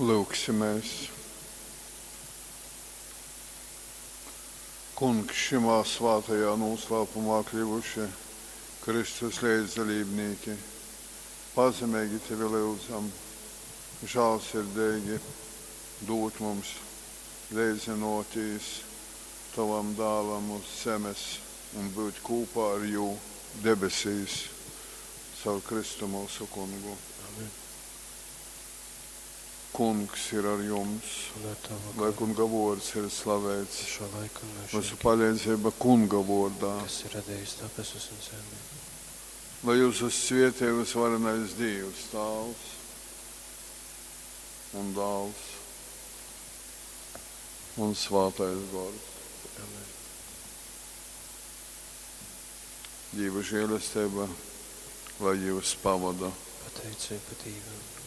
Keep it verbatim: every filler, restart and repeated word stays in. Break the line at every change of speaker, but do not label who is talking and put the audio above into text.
Lyugsimēs. Kungs, šymā svātajā nūslāpumā kļyvuši Kristus leidzdalībnīki, pazemeigi tevi lyudzam, žālsirdeigi dūd mums leidzynōtīs tovam Dālam uz zemes un byut kūpā ar jū debesīs. Caur Kristu myusu Kungu.
Amen.
Kungs ir ar jums.
Un ar tavu
Lai
garu.
Kunga vōrds ir slaveits.
Uz šo laiku un
Myusu
mūžīgi,
paleidzeiba Kunga vōrdā.
kas ir radījis debesis un zemi.
Lai jūs svietī visvarenais Dievs, Tāvs un Dāls un Svātais Gors.
Amen.
Dieva žēlastība, lai jūs pavada.
Pateicība Dievam.